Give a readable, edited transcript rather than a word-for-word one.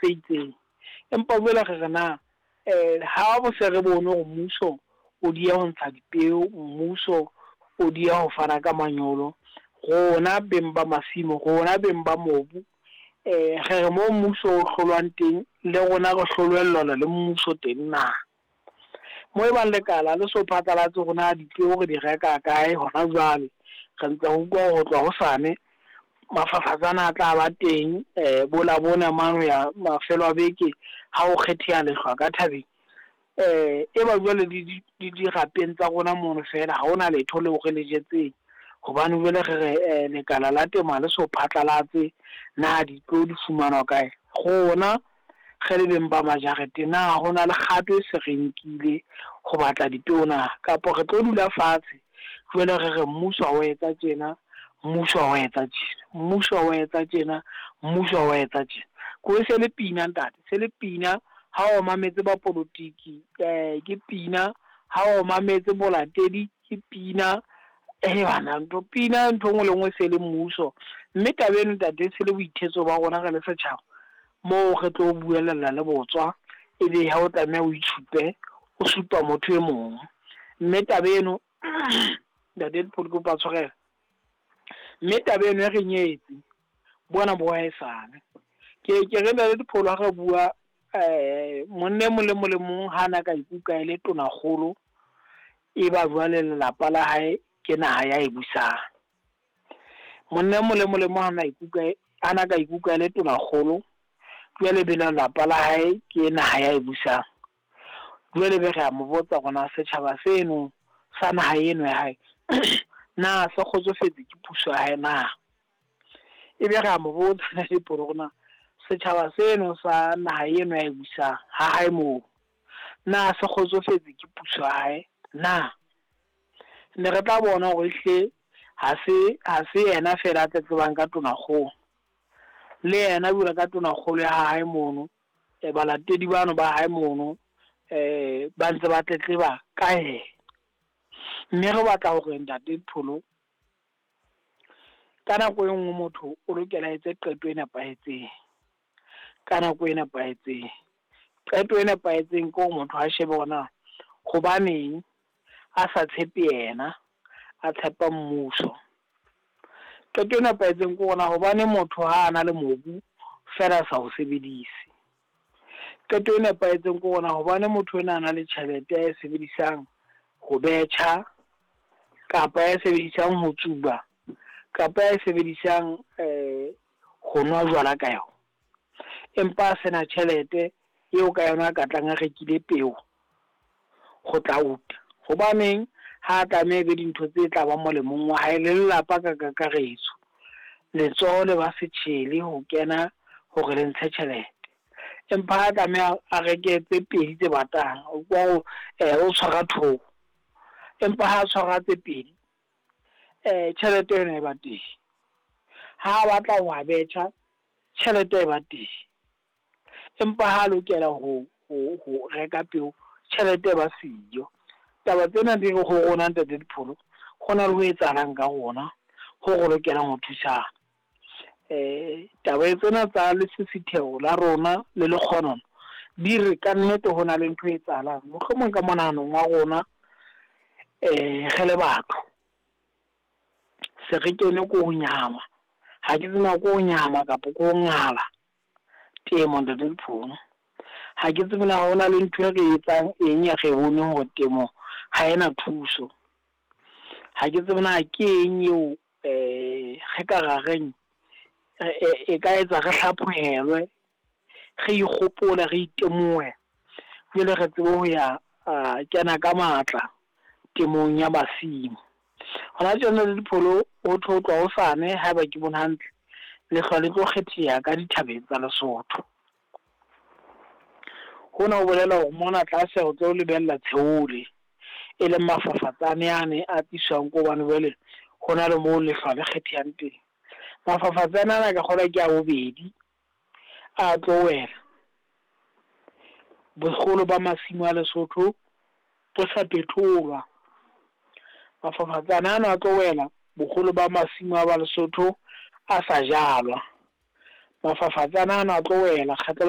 se itseng. Empa jwale re re na ha bo se re bone hore mmuso o dieha ho ntsha dipeo, mmuso o dieha ho fana ka manyolo. Rona beng ba masimo, rona beng ba mobu, re re moo mmuso o hlolwang teng le rona re hlolellelwa le mmuso teng na? Moo e bang lekala le so phatlalatse hore na dipeo re di reka kae hona jwale, re ntse re utlwa ho tloha hosane mafafatsane a tla ba teng bo Labone mane ho ya mafelo a beke ha ho kgetheha lehlwa ka thabeng. E ba jwale le dirapeng tsa rona mono fela ha hona letho leo re le jetseng hobane jwale re re lekala la temo ha le so phatlalatse na dipeo di fumanwa kae. Rona re le beng ba majarete na hona le kgato e se re nkile ho batla dipeo na? Kapa re tlo dula fatshe jwale re re mmuso ha wa etsa tjena, mmuso ha wa etsa tjena, mmuso ha wa etsa tjena, mmuso ha wa etsa tjena. Ko se le pina ntate, se le pina ha o mametse ba polotiki, ke pina ha o mametse bolatedi, ke pina. Bana ntho pina ntho e nngwe le nngwe se le mmuso. Mme taba eno ntate se le boithetso ba rona re le setjhaba, moo re tlo buelella le botswa, ebe ha o tlameha o itshupe o supa motho e mong. Mme taba eno ntate ke kopa tshwarelo. Mme taba eno e re nyetse bona bo haesale. Ke ke re ntate Dipholo ha re bua monna e mong le mong le mong ha na ka ikuka e le tonakgolo, e ba jwale lelapa la hae ke naha ya e busang. Monna e mong le mong le mong ha na ikuka ha na ka ikuka e le tonakgolo, jwale be lelapa la hae ke naha ya e busang. Jwale be re a mo botsa hore na setjhaba seno sa naha eno ya hae na se kgotsofetse ke puso ya hae na? Ebe re a mo botsa hore na setjhaba seno sa naha eno ya e busang ha hae moo, na se kgotsofetse ke puso ya hae na? Ne re tla bona hore ehlile ha se yena fela a tletlebang ka tonakgolo. Le yena jwalo ka tonakgolo ya hae mono, balatedi bano ba hae mono ba ntse ba tletleba ka yena. Mme re batla hore ntate Pholo, ka nako e nngwe motho o lokela a etse qeto e nepahetseng, ka nako e nepahetseng. Qeto e nepahetseng ke hore motho a shebe hore na hobaneng a sa tshepe yena, a tshepa mmuso. Qeto e nepahetseng ke hore na hobaneng motho ha ana le mobu feela a sa o sebedise. Qeto e nepahetseng ke hore na hobane motho enwa a na le tjhelete ae sebedisang ho betjha, kapa ya e sebedisang ho tsuba, kapa ya e sebedisang ho nwa jwala ka yona. Empa a sena tjhelete eo ka yona a ka tlang a rekile peo ho tla uta. Hobaneng ha tlameha ebe dintho tse tla ba molemong wa hae le lelapa ka kakaretso. Letsoho le ba setjhele ho kena hore le ntshe tjhelete. Empa ha tlameha a reke tse pedi tse batang, o kwa o tshwara thobo. Empa ha tshwara tse pedi, tjhelete yona e ba teng. Ha a batla ho a betjha, tjhelete e ba teng. Empa ha lokela ho reka peo, tjhelete e ba siyo. Taba tsena di re ho rona ntate Dipholo, hona le ho etsahalang ka rona ho re lokelang ho thusana. Taba tsena tsa lesisitheho la rona le lekgonono, di re ka nnete hona le ntho e etsahalang. Mohlomong ka monahanong wa rona re le batho. Se re kene ko ho nyahama, ha ke tsebe na ke ho nyahama kapa ke ho ngala temo ntate Dipholo. Ha ke tsebe na hona le ntho e re etsang eng e re boneng hore temo ha ena thuso. Ha ke tsebe na ke eng eo re ka ra reng e ka etsa re hlaphohelwe, re ikgopole, re itemohe jwale re tsebe ho ya kena ka matla temong ya masimo. Hona tjena le Dipholo ho thwe ho tloha hosane ha eba ke bone hantle, lehlwa le tlo kgetheha ka dithabeng tsa Lesotho. Hona ho bolela hore mona tlase re tlo lebella tsheole, e leng mafafatsane ane a tliswang ke hobane jwale hona le moo lehlwa le kgethehang teng. Mafafatsane ana ke kgolwa ke a bobedi a tlo wela boholo ba masimo a Lesotho bo sa phetholwa. Mafafatsane ana a tlo wela boholo ba masimo a ba Lesotho a sa jalwa. Mafafatsane ana a tlo wela kgetlo la.